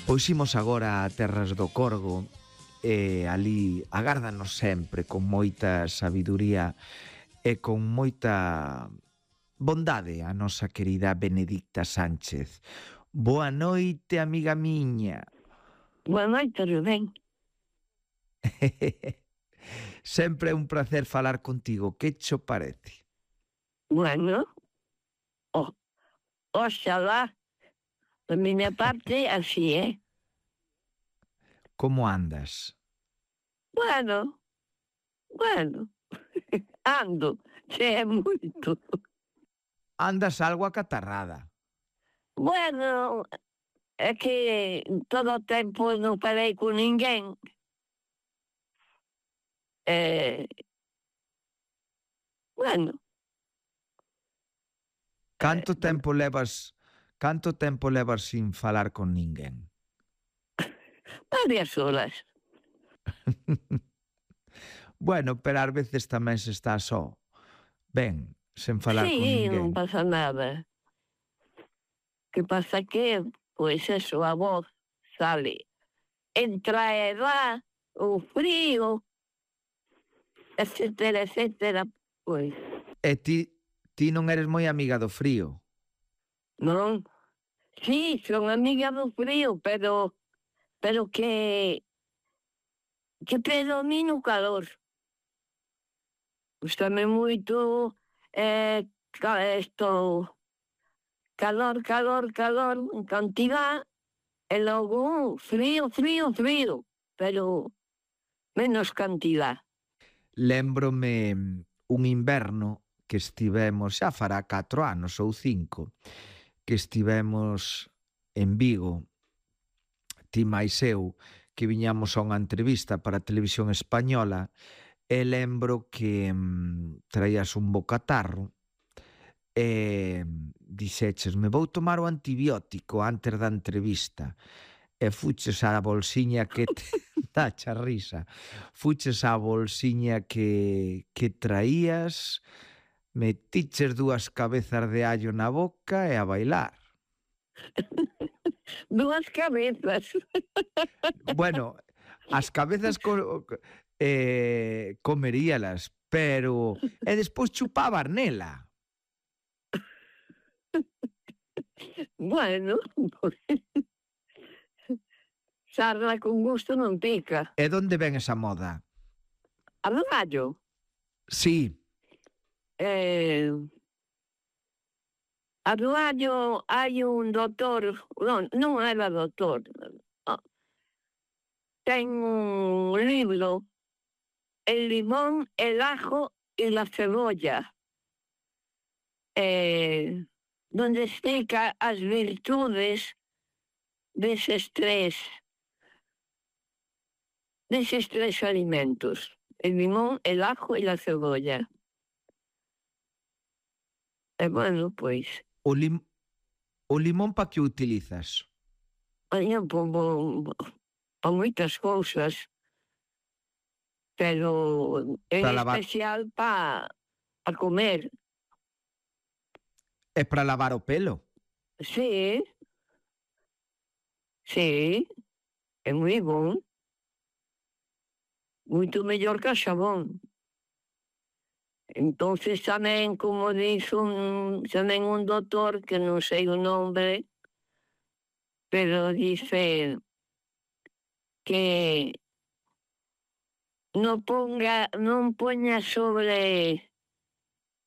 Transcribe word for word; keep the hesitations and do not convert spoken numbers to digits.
Pois imos agora a terras do Corgo e ali agárdanos sempre con moita sabiduría e con moita bondade a nosa querida Benedicta Sánchez. Boa noite, amiga miña. Boa noite, Rubén. Sempre é un placer falar contigo. Que cho parece? Bueno, oh, oxalá, da miña parte, así, eh? Como andas? Bueno, bueno, ando, che é moito. Andas algo acatarrada. Bueno, é que todo o tempo non parei con ninguén. Eh, bueno. Canto eh, tempo levas, canto tempo levas sin falar con ninguén? Varias horas. Bueno, pero ás veces tamén se está só. Ben, sen falar con Sí, non ninguén. pasa nada. Que pasa que, pois eso, a voz sale. Entra a edad, o frío, etcétera, etcétera, pois. E ti, ti non eres moi amiga do frío? Non? Sí, son amiga do frío, pero pero que que predomina o calor. Gústame moito eh, ca, esto, calor, calor, calor, en cantidad, e logo frío, frío, frío, pero menos cantidad. Lémbrome un inverno que estivemos, xa fará catro anos ou cinco, que estivemos en Vigo, ti máis eu, que viñamos a unha entrevista para a televisión española, e lembro que mm, traías un bocatarro e dixeches, me vou tomar o antibiótico antes da entrevista. E fuches á bolsiña que te... Dacha risa. Fuches á bolsiña que, que traías, metiches dúas cabezas de allo na boca e a bailar. Dúas cabezas. Bueno, as cabezas co, eh, comeríalas, pero... E despois chupabas nela. Bueno, sarna con gusto non pica. E donde ven esa moda? A do gallo? Sí. Eh, a do gallo hai un doutor, non, non era doutor, oh, ten un libro, El limón, el ajo y la cebolla, eh, donde explica as virtudes deses tres, deses tres alimentos, el limón, el ajo y la cebolla. E bueno, pois, O, lim... o limón pa que o utilizas? Oña, para moitas cousas, pero en Para lavar. especial para pa comer. É para lavar o pelo? Sí, sí, é moi bon. Moito mellor que o xabón. Entonces tamén, como dice un, tamén un doutor, que non sei o nombre, pero dice que non ponga, non poña sobre